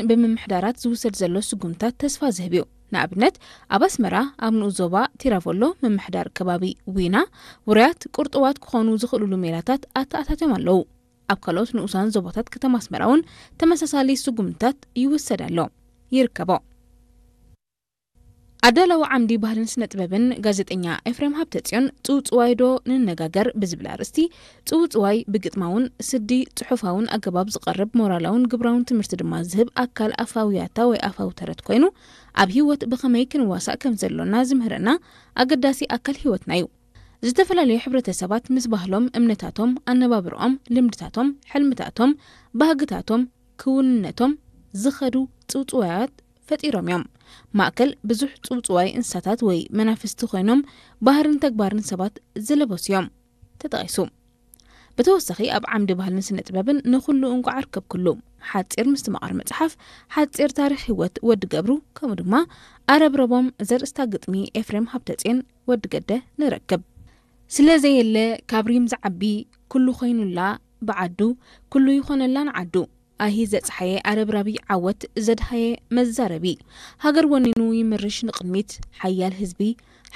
ብምምሕዳራት ዝውሰድ ዘሎ ስጉምታት ተስፋ ዝህብ እዩ። ንኣብነት፣ ኣብ ኣስመራ ኣብ ንኡስ ዞባ ቲራቮሎ ምምሕዳር ከባቢ ዊና ውሩያት ቁርጡዋት ክኾኑ ዝኽእሉሉ ሜላታት ኣተኣታትዮም ኣለዉ። ኣብ ካልኦት ንኡሳን ዞባታት ከተማ ኣስመራ እውን ተመሳሳሊ ስጉምትታት ይውሰድ ኣሎ፣ ይርከቦ። ኣዳላዊ ዓምዲ ባህልን ስነ ጥበብን ጋዜጠኛ ኤፍሬም ሃብተጽዮን ጽውጽዋይ ዶ ንነጋገር ብዝብል ኣርእስቲ፣ ጽውጽዋይ ብግጥማውን ስዲ ጽሑፋውን ኣገባብ ዝቐርብ ሞራላውን ግብራውን ትምህርቲ ድማ ዝህብ ኣካል ኣፋዊ ያታ ወይ ኣፋዊ ተረት ኮይኑ፣ ኣብ ህይወት ብኸመይ ክንዋሳእ ከም ዘሎና ዝምህረና ኣገዳሲ ኣካል ህይወትና እዩ። ዝተፈላለዩ ሕብረተሰባት ምስ ባህሎም፣ እምነታቶም፣ ኣነባብርኦም፣ ልምድታቶም፣ ሕልምታቶም፣ ባህግታቶም፣ ክውንነቶም ዝኸዱ ጽውጽዋያት ፈጢሮም እዮም። ማእከል ብዙሕ ጽውጽዋይ እንስሳታት ወይ መናፍስቲ ኮይኖም ባህርን ተግባርን ሰባት ዝለበሱ እዮም። ተጠቒሱ። ብተወሳኺ ኣብ ዓምዲ ባህልን ስነ ጥበብን ንኹሉ እንቋዕ ኣርከብኩሉ፣ ሓጺር ምስትምቓር መጽሓፍ፣ ሓጺር ታሪኽ ህይወት ወዲ ገብሩ፣ ከምኡ ድማ ኣረብረቦም ዘርእስታ ግጥሚ ኤፍሬም ሃብተጽዮን ወዲ ገደ ንረክብ። ስለ ዘየለ ካብ ሪም ዝዓቢ ኩሉ ኮይኑላ ብዓዱ፣ ኩሉ ይኾነላ ንዓዱ። ኣሂ ዘጽሓየ ኣረብራቢ ዓወት ዘድሃየ መዛረቢ። ሃገር ወኒኑ ይምርሽ ንቕድሚት፣ ሓያል ህዝቢ፣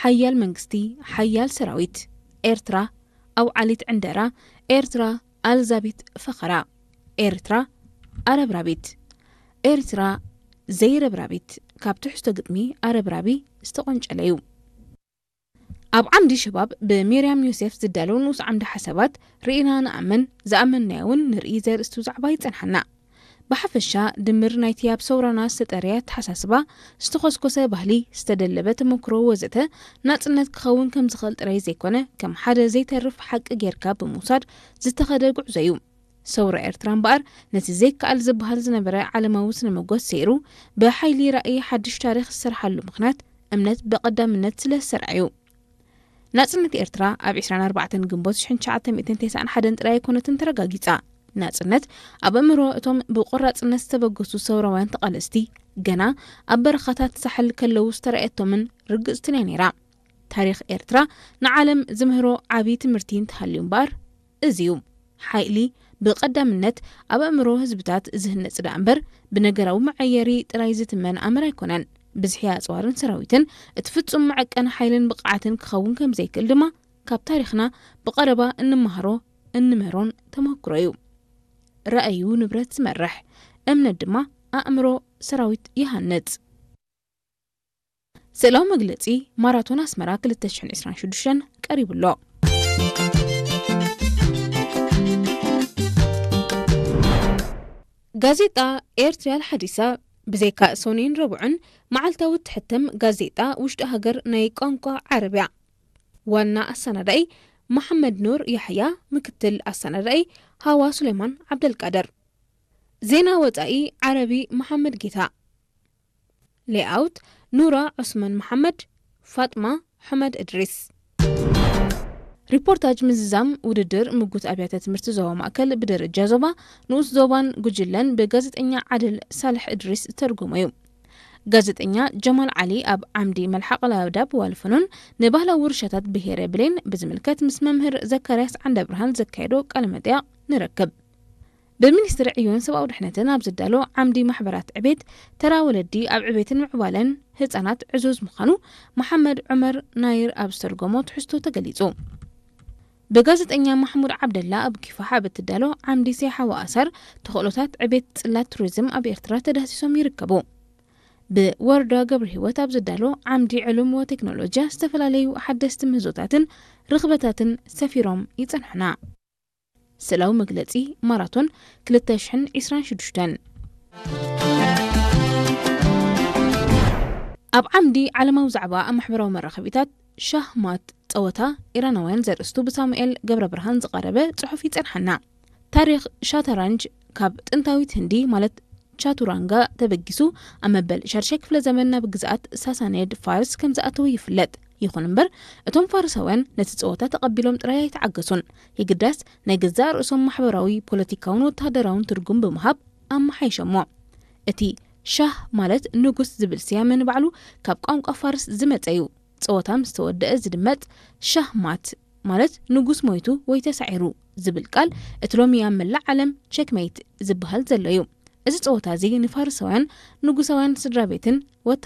ሓያል መንግስቲ፣ ሓያል ሰራዊት። ኤርትራ ኣውዓሊት ዕንደራ፣ ኤርትራ ኣልዛቢት ፈኸራ፣ ኤርትራ ኣረብራቢት፣ ኤርትራ ዘይረብራቢት ካብ ትሕዝቶ ግጥሚ ኣረብራቢ ዝተቖንጨለ እዩ። ኣብ ዓምዲ ሸባብ ብሚርያም ዮሴፍ ዝዳለው ንኡስ ዓምዲ ሓሳባት ርኢና ንኣምን፣ ዝኣመንናዮ እውን ንርኢ ዘርእስቱ ዛዕባ ይጸንሓና። ብሓፈሻ ድምር ናይቲ ኣብ ሰውራና ዝተጠርየ ኣተሓሳስባ፣ ዝተኾስኮሰ ባህሊ፣ ዝተደለበ ተመክሮ ወዘተ ናጽነት ክኸውን ከም ዝኽእል ጥራይ ዘይኮነ፣ ከም ሓደ ዘይተርፍ ሓቂ ጌርካ ብምውሳድ ዝተኸደ ጉዕዞ እዩ። ሰውራ ኤርትራ እምበኣር ነቲ ዘይከኣል ዝበሃል ዝነበረ ዓለማዊ ስነ መጎት ሰይሩ፣ ብሓይሊ ራእይ ሓድሽ ታሪኽ ዝሰርሓሉ ምኽንያት እምነት ብቐዳምነት ስለ ዝሰርዐ እዩ። ናጽነት ኤርትራ ኣብ ዕስራን ኣርባዕተን ግንቦት ሽሕን ትሽዓተ ሚእትን ተስዓን ሓደን ጥራይ ኣይኮነትን ተረጋጊጻ። ናጽነት ኣብ ኣእምሮ እቶም ብቆራጽነት ዝተበገሱ ሰውራውያን ተቓለስቲ ገና ኣብ በረኻታት ሳሕል ከለዉ ዝተራእየቶምን ርግጽትን እያ ነይራ። ታሪኽ ኤርትራ ንዓለም ዝምህሮ ዓቢ ትምህርቲ እንተሃልዩ እምበኣር እዚ እዩ። ሓይሊ ብቐዳምነት ኣብ ኣእምሮ ህዝብታት ዝህነጽ ደኣ እምበር ብነገራዊ መዐየሪ ጥራይ ዝትመን ኣምር ኣይኮነን። ብዝሒ ኣጽዋርን ሰራዊትን እቲ ፍጹም መዐቀኒ ሓይልን ብቕዓትን ክኸውን ከም ዘይክእል ድማ ካብ ታሪኽና ብቐረባ እንመሃሮ እንምህሮን ተመክሮ እዩ። ራእዩ ንብረት ዝመርሕ፣ እምነት ድማ ኣእምሮ ሰራዊት ይሃንጽ። ስእላዊ መግለጺ ማራቶን ኣስመራ ክልተ ሽሕን ዕስራን ሽዱሽተን ቀሪቡ ኣሎ። ጋዜጣ ኤርትሪያል ሓዲሳ ብዘይካ ሰኑይን ረቡዕን መዓልታዊ እትሕተም ጋዜጣ ውሽጢ ሃገር ናይ ቋንቋ ዓረብያ። ዋና ኣሰናዳኢ መሓመድ ኑር ያሕያ፣ ምክትል ኣሰናዳኢ ሃዋ ሱሌማን ዓብደልቃድር። ዜና ወጻኢ ዓረቢ መሓመድ ጌታ። ሌኣውት ኑራ ዑስማን መሓመድ፣ ፋጥማ ሑመድ እድሪስ። ሪፖርታጅ ምዝዛም ውድድር ምጉት ኣብያተ ትምህርቲ ዞባ ማእከል ብደረጃ ዞባ፣ ንኡስ ዞባን ጉጅለን ብጋዜጠኛ ዓድል ሳልሕ እድሪስ ዝተርጎመ እዩ። ጋዜጠኛ ጀማል ዓሊ ኣብ ዓምዲ መልሓቕ ላብዳብ ዋልፈኖን ንባህላዊ ውርሻታት ብሄረ ብሌን ብዝምልከት ምስ መምህር ዘካርያስ ዓንደብርሃን ዘካየዶ ቃለ መጠይቕ ንረክብ። ብሚኒስትሪ ዕዮን ሰብኣዊ ድሕነትን ኣብ ዝዳሎ ዓምዲ ማሕበራት ዕቤት፣ ተራ ወለዲ ኣብ ዕቤትን ምዕባለን ህጻናት ዕዙዝ ምዃኑ መሓመድ ዑመር ናይር ኣብ ዝተርጎሞ ትሕዝቶ ተገሊጹ። ብጋዜጠኛ ማሕሙድ ዓብደላ ኣብ ኪፋሕ ኣብ እትዳሎ ዓምዲ ሰይሓዊ ኣሰር ተኽእሎታት ዕቤት ጽላት ቱሪዝም ኣብ ኤርትራ ተዳህሲሶም ይርከቡ። ብወርዳ ገብረ ህይወት ኣብ ዝዳሎ ዓምዲ ዕሉም ወቴክኖሎጂያ ዝተፈላለዩ ሓደስቲ ምህዞታትን ርኽበታትን ሰፊሮም ይጸንሑና። ስእላዊ መግለጺ ማራቶን ክልተ ሽሕን ዕስራን ሽዱሽተን። ኣብ ዓምዲ ዓለማዊ ዛዕባ ኣብ ማሕበራዊ መራኸቢታት ሻህ ማት ጸወታ ኢራናውያን ዘርእስቱ ብሳሙኤል ገብረ ብርሃን ዝቐረበ ጽሑፍ ይጸንሓና። ታሪኽ ሻታራንጅ ካብ ጥንታዊት ህንዲ ማለት ቻቱራንጋ ተበጊሱ ኣብ መበል ሻድሻይ ክፍለ ዘመን ናብ ግዝኣት ሳሳንየድ ፋርስ ከም ዝኣተወ ይፍለጥ። ይኹን እምበር እቶም ፋርሳውያን ነቲ ጸወታ ተቐቢሎም ጥራይ ኣይተዓገሱን። የግዳስ ናይ ገዛእ ርእሶም ማሕበራዊ፣ ፖለቲካውን ወተሃደራውን ትርጉም ብምሃብ ኣመሓይሸሞ። እቲ ሻህ ማለት ንጉስ ዝብል ስያመ ንባዕሉ ካብ ቋንቋ ፋርስ ዝመጸ እዩ። ጸወታ ምስ ተወደአ ዝድመጽ ሻህ ማት ማለት ንጉስ ሞይቱ ወይ ተሳዒሩ ዝብል ቃል እቲ ሎሚ ኣብ መላእ ዓለም ቸክመይት ዝበሃል ዘሎ እዩ። እዚ ጸወታ እዚ ንፋርሳውያን ንጉሳውያን ስድራ ቤትን